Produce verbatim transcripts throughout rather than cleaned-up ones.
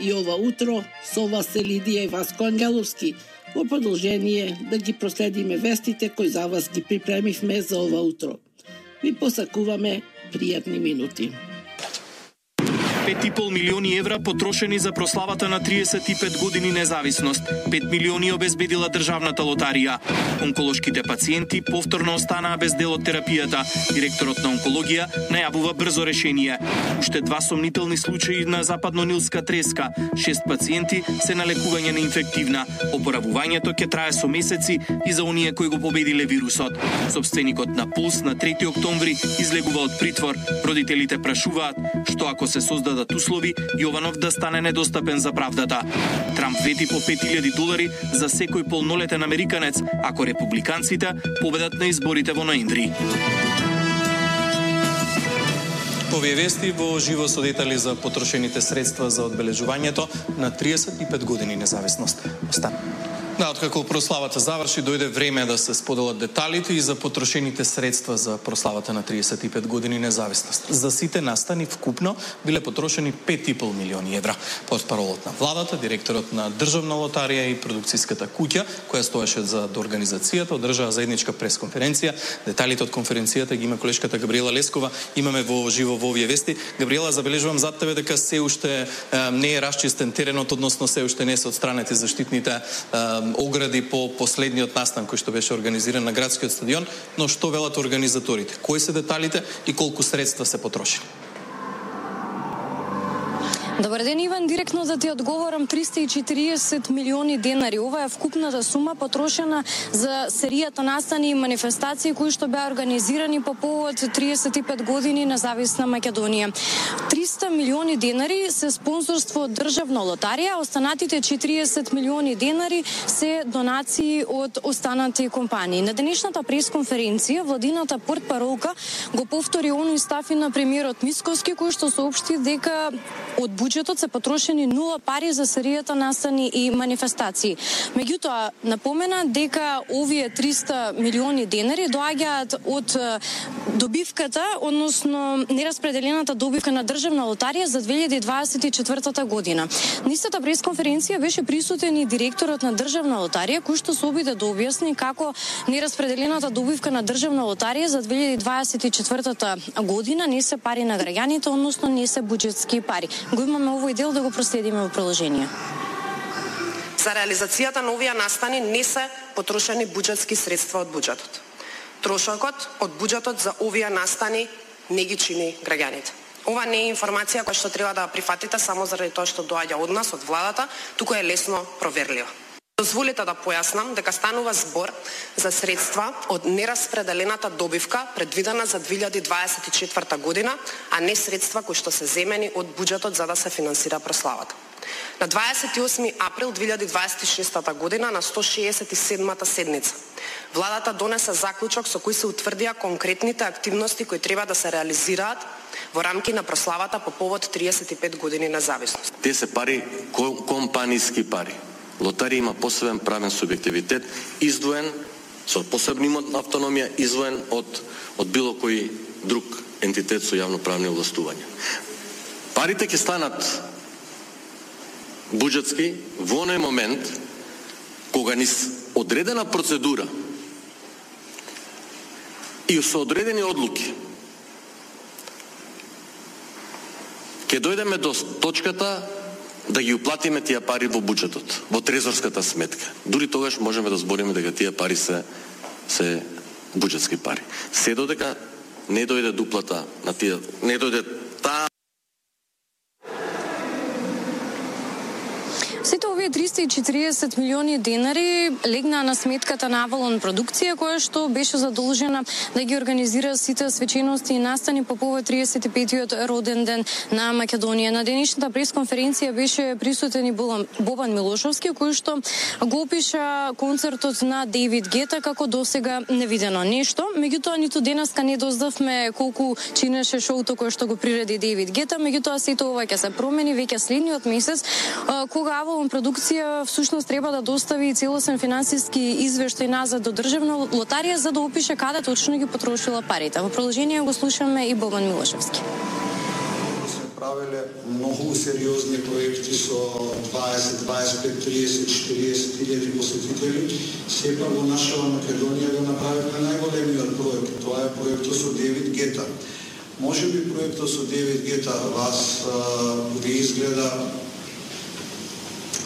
И ова утро со вас е Лидија и Васко Ангеловски. Во продолжение да ги проследиме вестите кои за вас ги припремивме за ова утро. Ви посакуваме пријатни минути. пет и пол милиони евра потрошени за прославата на триесет и пет години независност. пет милиони обезбедила државната лотарија. Онколошките пациенти повторно останаа без дел од терапијата. Директорот на онкологија најавува брзо решение. Уште два сомнителни случаи на западно-нилска треска. Шест пациенти се на лекување на инфективна. Опоравувањето ќе трае со месеци и за оние кои го победиле вирусот. Собственикот на Пулс на трети октомври излегува од притвор. Родителите прашуваат што ако се создадат услови Јованов да стане недостапен за правдата. Трамп вети по пет илјади долари за секој полнолетен американец ако републиканците победат на изборите во ноември. Овие вести во живо со детали за потрошените средства за одбележувањето на триесет и пет години независност. Остан. Да, откако прославата заврши, дојде време да се споделат деталите и за потрошените средства за прославата на триесет и пет години независност. За сите настани вкупно биле потрошени пет и пол милиони евра. Портпаролот на владата, директорот на Државна лотарија и продукцијската куќа, која стоеше за организацијата, одржаа заедничка пресконференција. Деталите од конференцијата ги има колешката Габриела Лескова. Имаме во живо во овие вести. Габриела, забележувам зад тебе дека се уште е, не е расчистен теренот, односно се уште не се отстранети заштитните е, огради по последниот настан кој што беше организиран на градскиот стадион, но што велат организаторите? Кои се деталите и колку средства се потрошени? Добар ден, Иван, директно да ти одговорам, триста и четириесет милиони денари. Ова е вкупната сума потрошена за серијата настани и манифестации кои што беа организирани по повод триесет и пет години независна Македонија. триста милиони денари се спонзорство од Државна лотарија, останатите четириесет милиони денари се донации од останати компании. На денешната пресконференција владината портпаролка го повтори оној став и на премиерот Мицковски кој што соопшти дека од буџетот се потрошени нула пари за серијата настани и манифестации. Меѓутоа, напомена дека овие триста милиони денари доаѓаат од добивката, односно нераспределената добивка на Државна лотарија за две илјади дваесет и четвртата година. На истата пресконференција беше присутен и директорот на Државна лотарија, кој што се обиде да објасни како нераспределената добивка на Државна лотарија за две илјади дваесет и четвртата година не се пари на граѓаните, односно не се буџетски пари. Го имаме овој дел да го проследиме во продолжение. За реализацијата на овие настани не се потрошени буџетски средства од буџетот. Трошокот од буџетот за овие настани не ги чини граѓаните. Ова не е информација која што треба да ја прифатите само заради тоа што доаѓа од нас, од владата, туку е лесно проверлива. Дозволите да појаснам дека станува збор за средства од нераспределената добивка предвидена за две илјади дваесет и четврта година, а не средства кои што се земени од буџетот за да се финансира прославата. На дваесет и осми април две илјади дваесет и шеста година на сто шеесет и седмата седница владата донесе заклучок со кој се утврдија конкретните активности кои треба да се реализираат во рамки на прославата по повод триесет и пет години независност. Те се пари компаниски пари. Лотарија има посебен правен субјективитет, издвоен со посебна автономија, издвоен од од било кој друг ентитет со јавноправни овластувања. Парите ќе станат буџетски во оној момент кога низ одредена процедура и со одредени одлуки ќе дојдеме до точката да ги уплатиме тие пари во буџетот, во трезорската сметка. Дури тогаш можеме да збориме дека тие пари се се буџетски пари. Се додека не дојде дуплата на тие, не дојде таа. Сите овие триста и четириесет милиони денари легнаа на сметката на Авалон продукција, која што беше задолжена да ги организира сите свечености и настани по повод триесет и петиот роден ден на Македонија. На денешната пресконференција беше присутен и Бобан Милошовски, кој што го опиша концертот на Дейвид Гета како досега невидено нешто. Меѓутоа, ниту денеска не дознавме колку чинеше шоуто кое што го приреди Дейвид Гета, меѓутоа сето ова ќе се промени веќе следниот месец, кога Авалон продукција всушност треба да достави целосен финансиски извештај назад до Државна лотарија за да опише каде точно ги потрошила парите. Во продолжение го слушаме и Бобан Милошевски. направиле многу сериозни проекти со дваесет, дваесет и пет, триесет, четириесет илјади посетители. Сепак во нашава Македонија го направивме најголемиот проект. Тоа е проектот со Девид Гета. Може би проектот со Девид Гета вас ви изгледа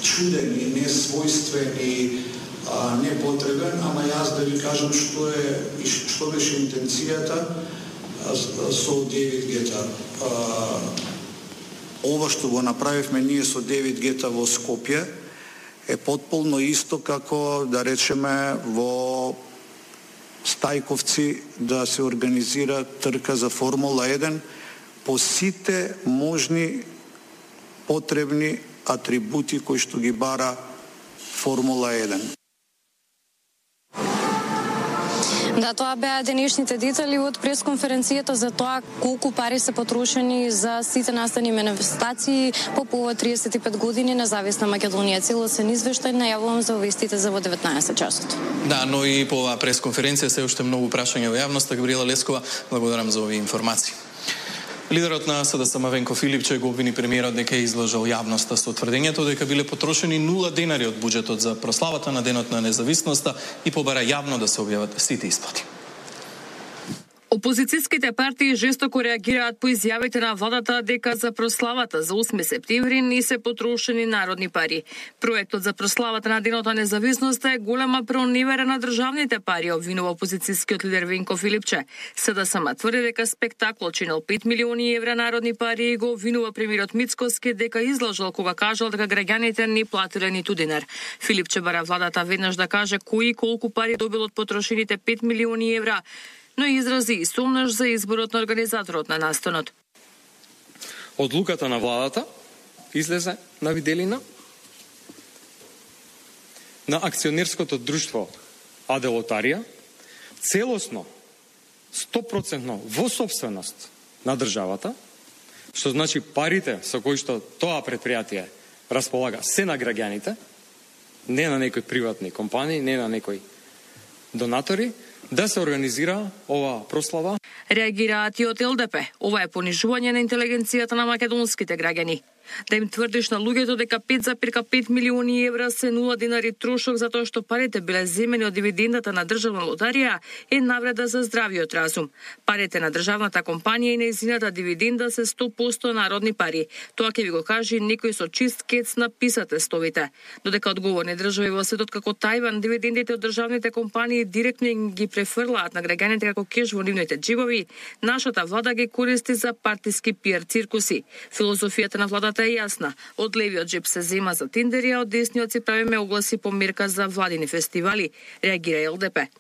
чуден и несвојствен и непотребен, ама јас да ви кажам што е и што беше интенцијата со Девид Гета. Ова што го направивме ние со Девид Гета во Скопје е потполно исто како, да речеме, во Стајковци да се организира трка за Формула еден по сите можни потребни атрибути кои што ги бара Формула еден. Да, тоа беа денешните детали од пресконференцијата за тоа колку пари се потрошени за сите настани манифестации по повод триесет и пет години независна Македонија. Целосен извештај најавувам за вестите за во деветнаесет часот. Да, но и по оваа пресконференција се уште многу прашања во јавноста. Габриела Лескова, благодарам за овие информации. Лидерот на СДСМ Венко Филипче го обвини премиерот дека е излажал јавноста со тврдењето дека биле потрошени нула денари од буџетот за прославата на Денот на независноста и побара јавно да се објават сите исплати. Опозицијските партии жестоко реагираат по изјавите на владата дека за прославата за осми септември не се потрошени народни пари. Проектот за прославата на Денот на независноста е голема проневера на државните пари, обвинува опозицијскиот лидер Венко Филипче. СДСМ тврди дека спектаклот чинел пет милиони евра народни пари и го обвинува премиерот Мицкоски дека излажал кога кажал дека граѓаните не платиле ниту динар. Филипче бара владата веднаш да каже кои и колку пари добил од потрошените пет милиони евра, но изрази и сомнеш за изборот на организаторот на настанот. Одлуката на владата излезе на виделина на акционерското друштво АД Лотарија, целосно, сто проценти во собственост на државата, што значи парите со кои што тоа предпријатие располага се на граѓаните, не на некои приватни компании, не на некои донатори, да се организира ова прослава. Реагираат и од ЛДП. Ова е понижување на интелигенцијата на македонските граѓани. Да им тврдиш на луѓето дека пет запирка пет милиони евра се нула динари трошок затоа што парите биле земени од дивидендата на државна лотарија е навреда за здравиот разум. Парите на државната компанија и нејзината дивиденда се сто проценти народни пари. Тоа ќе ви го каже некој со чист кец на писа тестовите. Додека одговорни држави во светот како Тајван дивидендите од државните компании директно ги префрлаат на граѓаните како кеш во нивните џебови, нашата влада ги користи за партиски пиар циркуси. Филозофијата на владата е јасна. Од левиот джеб се зема за тендери, а од десниот си правиме огласи по мерка за владини фестивали, реагира ЛДП.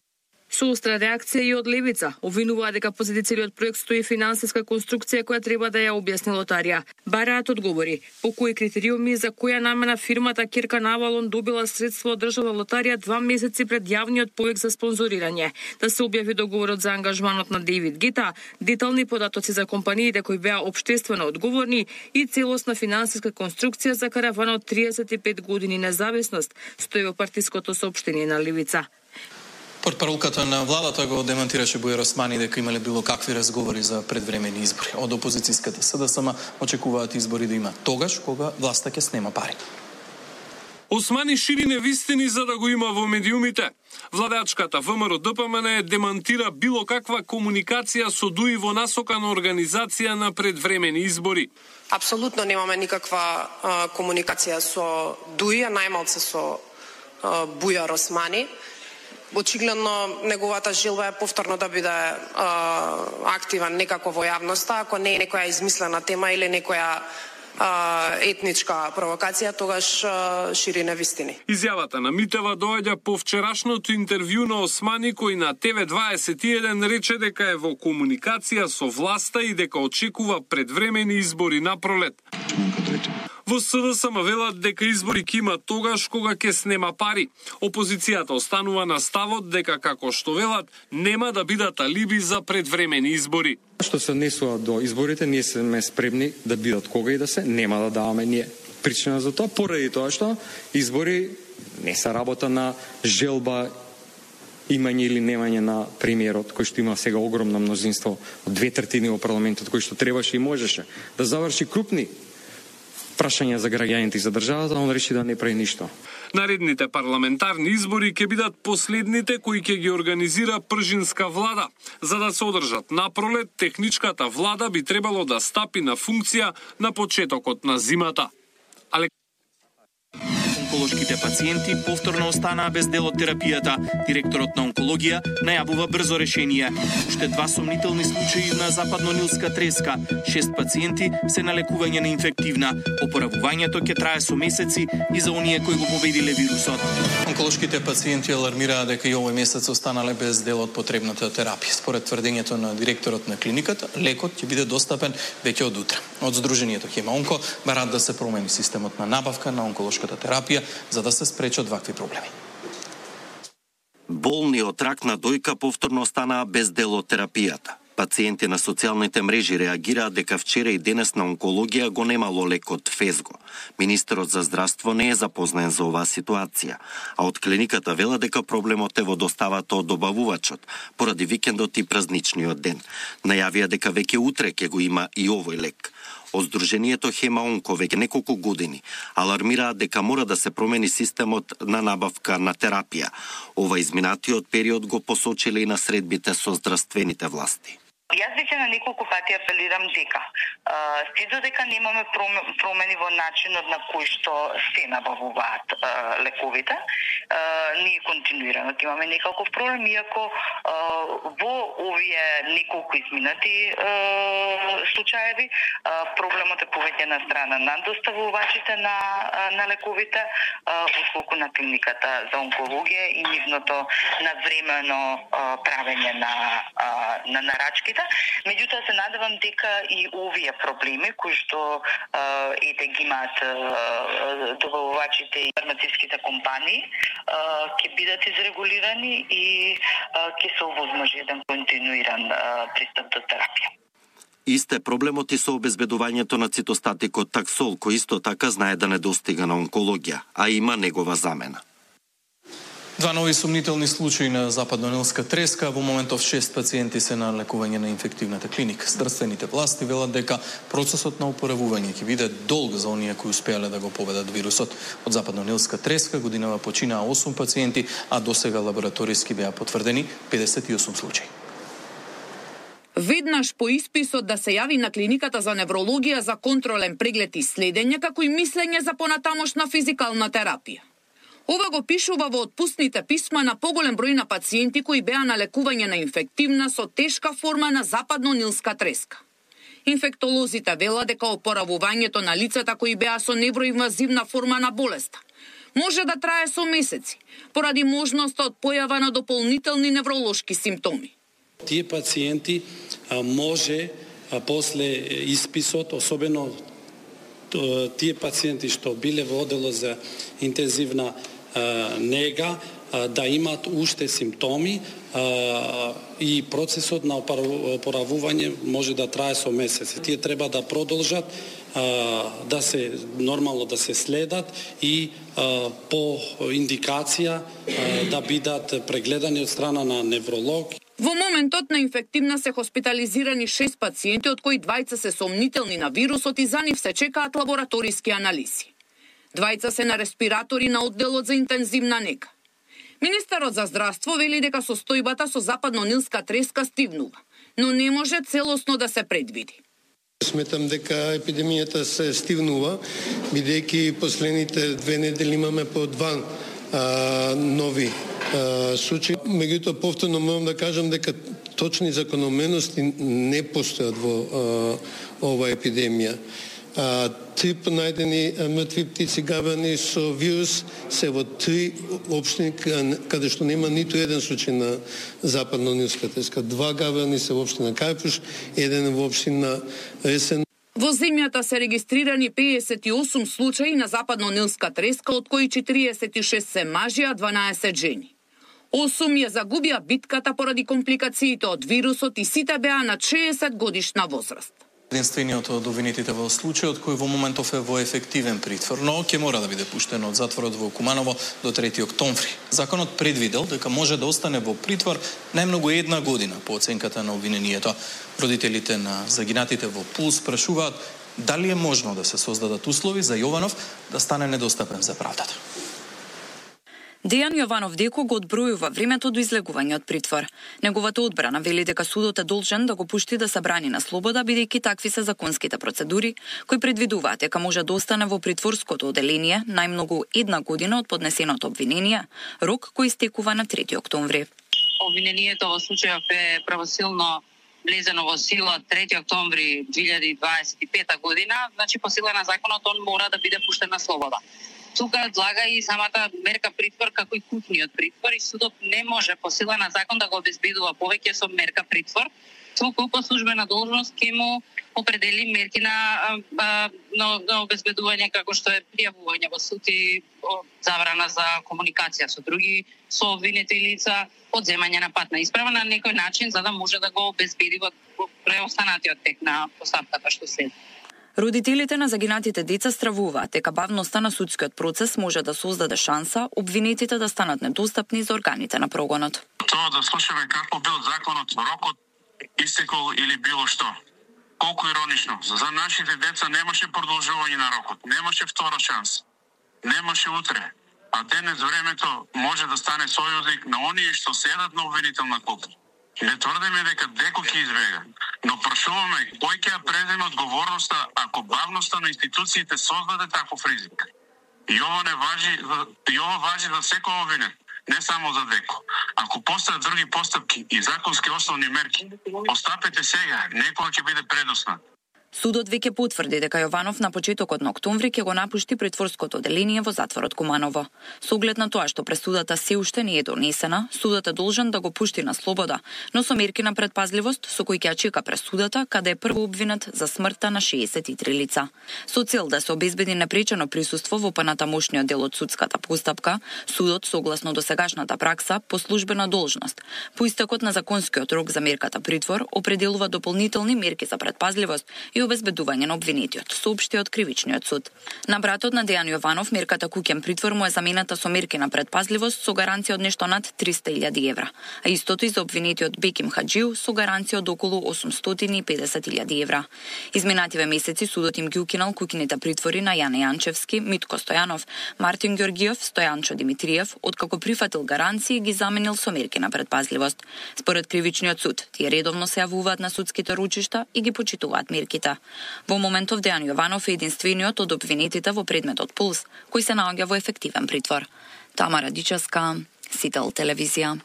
Со остра реакција и од левица, обвинуваа дека позади целиот проект стои финансиска конструкција која треба да ја објасни лотарија. Бараат одговори по кои критериуми за која намена фирмата Кирка Навалон добила средства од државна лотарија два месеци пред јавниот повик за спонзорирање, да се објави договорот за ангажманот на Девид Гета, детални податоци за компаниите кои беа општествено одговорни и целосна финансиска конструкција за караванот триесет и пет години независност, стои во партиското соопштение на левица. Портпаролката на владата го демантираше Бојар Османи дека имале било какви разговори за предвремени избори. Од опозицијската СДСМ очекуваат избори да има тогаш кога власта ќе снема пари. Османи шири невистини за да го има во медиумите. Владачката ВМРО Д П М Н демантира било каква комуникација со ДУИ во насока на организација на предвремени избори. Апсолутно немаме никаква а, комуникација со ДУИ, а најмалце со а, Бојар Османи. Очигледно неговата желба е повторно да биде а, активен некако во јавноста, ако не е некоја измислена тема или некоја а, етничка провокација, тогаш а, шири невистини. Изјавата на Митева доаѓа по вчерашното интервју на Османи, кој на Т В дваесет и еден рече дека е во комуникација со власта и дека очекува предвремени избори на пролет. Во СДСМ велат дека избори ќе има тогаш кога ќе снема пари. Опозицијата останува на ставот дека, како што велат, нема да бидат алиби за предвремени избори. Што се однесува до изборите, ние сме спремни да бидат кога и да се, нема да даваме ние причина за тоа, поради тоа што избори не се работа на желба имање или немање на премиерот, кој што има сега огромно мнозинство од две третини во парламентот, кој што требаше и можеше да заврши крупни прашања за граѓаните и за државата, он реши да не прави ништо. Наредните парламентарни избори ќе бидат последните кои ќе ги организира пржинска влада. За да се одржат на пролет, техничката влада би требало да стапи на функција на почетокот на зимата. Але онколошките пациенти повторно останаа без дел од терапијата. Директорот на онкологија најавува брзо решение. Уште два сомнителни случаи на западно-нилска треска. Шест пациенти се на лекување на инфективна. Опоравувањето ќе трае со месеци и за оние кои го победиле вирусот. Онколошките пациенти алармираат дека и овој месец останале без дел од потребната терапија. Според тврдењето на директорот на клиниката, лекот ќе биде достапен веќе од утре. Од Сдруженијето Хема-онко бараат да се промени системот на набавка на онколошката терапија за да се спречат вакви проблеми. Болни од рак на дојка повторно останаа без дел од терапијата. Пациенти на социјалните мрежи реагираат дека вчера и денес на онкологија го немало лекот Фезго. Министерот за здравство не е запознаен за оваа ситуација, а од клиниката вела дека проблемот е во доставата од добавувачот, поради викендот и празничниот ден. Најавија дека веќе утре ќе го има и овој лек. Од Сдруженијето Хема-онко веќе неколку години алармираат дека мора да се промени системот на набавка на терапија. Ова изминатиот период го посочиле и на средбите со здравствените власти. Јас веќе на неколку пати апелирам дека се додека немаме промени во начинот на кој што се набавуваат лековите, ние континуирано имаме неколку проблеми, иако во овие неколку изминати случаеви проблемот е повеќе на страна на доставувачите на на лековите, отколку на клиниката за онкологија и нивното навремено правење на на нарачките. Меѓутоа се надевам дека и овие проблеми кои што ете ги имаат добавувачите и фармацевските компании ќе бидат изрегулирани и ќе се овозможи еден континуиран пристап до терапија. Исте проблемот и со обезбедувањето на цитостатикот таксол, кој исто така знае да не достига на онкологија, а има негова замена. Два нови сомнителни случаи на западно-нилска треска, во моментов шест пациенти се на лекување на инфективната клиника. Здравствените власти велат дека процесот на опоравување ќе биде долг за оние кои успеале да го победат вирусот. Од западно-нилска треска годинава починаа осум пациенти, а досега лабораториски беа потврдени педесет и осум случаи. Веднаш по исписот да се јави на клиниката за неврологија за контролен преглед и следење, како и мислење за понатамошна физикална терапија. Ова го пишува во отпускните писма на поголем број на пациенти кои беа на лекување на инфективна со тешка форма на западно-нилска треска. Инфектолозите велат дека опоравувањето на лицата кои беа со невроинвазивна форма на болеста може да трае со месеци, поради можноста од појава на дополнителни невролошки симптоми. Тие пациенти а, може а, после исписот, особено тие пациенти што биле во одело за интензивна а, нега, а, да имат уште симптоми а, и процесот на опоравување може да трае со месеци. Тие треба да продолжат а, да се нормално да се следат и а, по индикација а, да бидат прегледани од страна на невролог. Во моментот на инфективна се хоспитализирани шест пациенти, од кои двајца се сомнителни на вирусот и за нив се чекаат лабораториски анализи. Двајца се на респиратори на одделот за интензивна нега. Министерот за здравство вели дека состојбата со западно-нилска треска стивнува, но не може целосно да се предвиди. Сметам дека епидемијата се стивнува, бидејќи последните две недели имаме по два а, нови случаи. Меѓутоа, повторно морам да кажам дека точни закономерности не постојат во а, ова епидемија. А, три понајдени мртви птици габани со вирус се во три општини каде што нема ниту еден случај на западно-нилска треска. Два габани се во општина Кајпуш, еден во општина Ресен. Во земјата се регистрирани педесет и осум случаи на западно-нилска треска, од кои четириесет и шест се мажи, а дванаесет жени. осум ја загубија битката поради компликациите од вирусот и сите беа на шеесет годишна возраст. единствениот од обвинетите во случајот кој во моментов е во ефективен притвор, но ќе мора да биде пуштен од затворот во Куманово до трети октомври. Законот предвидел дека може да остане во притвор најмногу една година по оценката на обвинението. Родителите на загинатите во Пулс прашуваат дали е можно да се создадат услови за Јованов да стане недостапен за правдата. Дејан Јованов деко го одбројува времето до излегување од притвор. Неговата одбрана вели дека судот е должен да го пушти да се брани на слобода, бидејќи такви се законските процедури кои предвидуваат дека може да остане во притворското оделение најмногу една година од поднесеното обвинение, рок кој истекува на трети октомври. Обвинението во случајов е правосилно влезено во сила трети октомври две илјади и дваесет и пета година, значи по сила на законот он мора да биде пуштен на слобода. Тука одлага и самата мерка притвор како и купниот притвор и судот не може по сила на закон да го обезбедува повеќе со мерка притвор, туку по службена должност ќе му определи мерки на, а, на, на обезбедување како што е пријавување во суд и забрана за комуникација со други сообвинети лица, одземање на патна исправа на некој начин за да може да го обезбеди во преостанатиот тек на постапката што следи. Родителите на загинатите деца стравуваат дека бавноста на судскиот процес може да создаде шанса обвинетите да станат недостапни за органите на прогонот. Тоа да слушаме како бил законот, рокот истекол или било што. Колку иронично. За нашите деца немаше продолжување на рокот, немаше втора шанса, немаше утре. А денес времето може да стане сојузник на оние што седат на обвинителна купа. Не тврдиме дека деко ќе избега, но прашуваме кој ќе ја преземе одговорноста ако бавноста на институциите создаде таков ризик. И ова не важи, и ова важи за секој обвинет, не само за деко. Ако постојат други постапки и законски основни мерки, постапете сега, некоја ќе биде предоснат. Судот веќе потврди дека Јованов на почетокот на октомври ќе го напушти притворското оделение во затворот Куманово. Со оглед на тоа што пресудата се уште не е донесена, судот е должен да го пушти на слобода, но со мерки на предпазливост со кои ќе ја чека пресудата, каде е прво обвинет за смртта на шеесет и три лица. Со цел да се обезбеди непречено присуство во понатамошниот дел од судската постапка, судот согласно досегашната пракса по службена должност, по истекот на законскиот рок за мерката притвор, определува дополнителни мерки за предпазливост и обезбедување на обвинетиот, соопшти од кривичниот суд. На братот на Дејан Јованов мерката куќен притвор му е замената со мерки на предпазливост со гаранција од нешто над триста илјади евра, а истото и за обвинетиот Беким Хаџију со гаранција од околу осумстотини и педесет илјади евра. Изминативе месеци судот им ги укинал куќените притвори на Јане Јанчевски, Митко Стојанов, Мартин Ѓоргиев, Стојанчо Димитриев, откако прифатил гаранции ги заменил со мерки на предпазливост. Според кривичниот суд, тие редовно се јавуваат на судските ручишта и ги почитуваат мерките. Во моментов Дејан Јованов е единствениот од обвинетите во предметот Пулс, кој се наоѓа во ефективен притвор. Тамара Дичевска, Сител телевизија.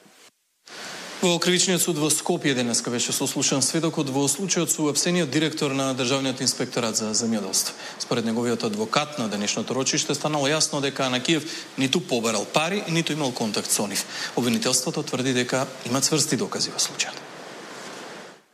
Во кривичниот суд во Скопје денеска беше сослушан сведокот во случајот со уапсениот директор на Државниот инспекторат за земјоделство. Според неговиот адвокат на денешното рочиште станало јасно дека Анакиев ниту побарал пари, ниту имал контакт со нив. Обвинителството тврди дека има цврсти докази во случајот.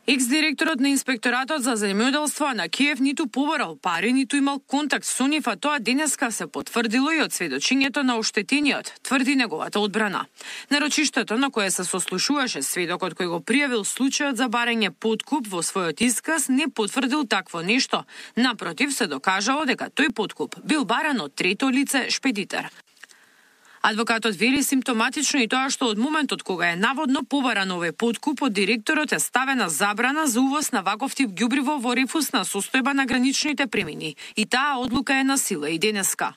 Екс-директорот на Инспекторатот за земјоделство Анакиев ниту побарал пари, ниту имал контакт со нив, а тоа денеска се потврдило и од сведочењето на оштетениот, тврди неговата одбрана. На рочиштето на кое се сослушуваше сведокот кој го пријавил случајот за барање подкуп во својот исказ не потврдил такво нешто. Напротив, се докажало дека тој подкуп бил баран од трето лице шпедитер. Адвокатот вели симптоматично и тоа што од моментот кога е наводно побаран овој подкуп од директорот е ставена забрана за увоз на ваков тип ѓубриво во рефусна состојба на граничните премини. И таа одлука е на сила и денеска.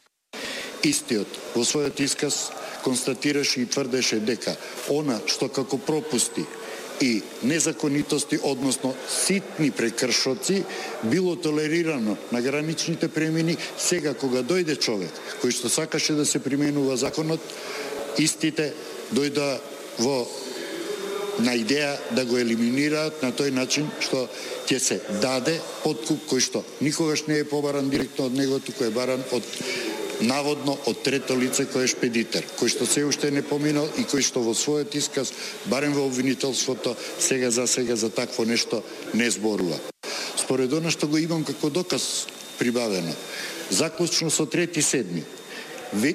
Истиот во својот исказ констатираше и тврдеше дека она што како пропусти и незаконитости, односно ситни прекршоци, било толерирано на граничните премини, сега кога дојде човек кој што сакаше да се применува законот, истите дојда во на идеја да го елиминираат на тој начин што ќе се даде подкуп кој што никогаш не е побаран директно од него, туку е баран од наводно од трето лице кој е шпедитер, кој што се уште не поминал и кој што во својот исказ, барем во обвинителството, сега за сега за такво нешто не зборува. Според она што го имам како доказ прибавено, заклучно со трети седми,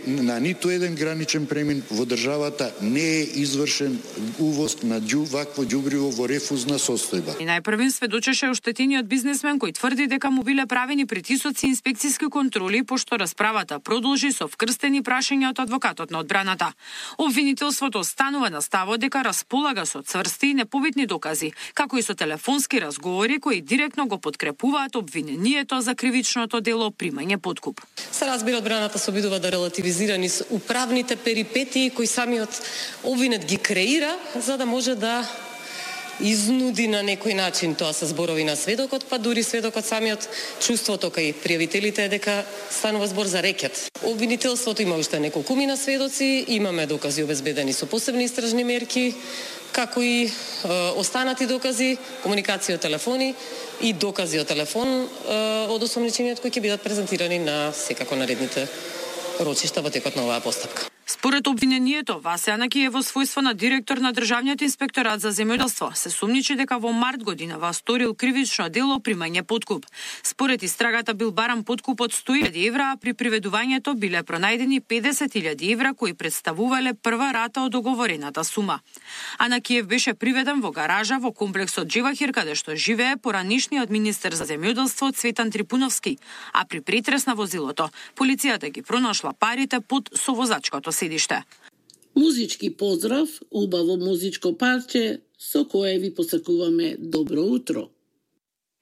на ниту еден граничен премин во државата не е извршен увоз на ѓу вакво ѓубриво во рефузна состојба. И најпрвен сведочеше оштетениот бизнесмен кој тврди дека му биле правени притисоци и инспекциски контроли, пошто расправата продолжи со вкрстени прашања од адвокатот на одбраната. Обвинителството останува на ставот дека располага со цврсти и непобитни докази, како и со телефонски разговори кои директно го подкрепуваат обвинението за кривичното дело примање подкуп. Се разбира, одбраната се обидува да релативизира низ управните перипетии кои самиот обвинет ги креира, за да може да изнуди на некој начин, тоа се зборови на сведокот, па дури сведокот самиот чувството кај пријавителите е дека станува збор за рекет. Обвинителството има уште неколкумина сведоци, имаме докази обезбедени со посебни истражни мерки, како и е, останати докази, комуникација од телефони и докази од телефон е, од осомничениот кои ќе бидат презентирани на секако наредните рочишта во текот на оваа постапка. Според обвинението, Васе Анакиев во својство на директор на Државниот инспекторат за земјоделство се сумничи дека во март годинава сторил кривично дело примање подкуп. Според истрагата бил баран подкуп од сто илјади евра, а при приведувањето биле пронајдени педесет илјади евра кои представувале прва рата од договорената сума. Анакиев беше приведен во гаража во комплексот Джевахир, каде што живее поранишниот министер за земјоделство Цветан Трипуновски, а при претрес на возилото полицијата ги пронашла парите под совозачкото седиште. Музички поздрав, убаво музичко парче со кое ви посакуваме добро утро.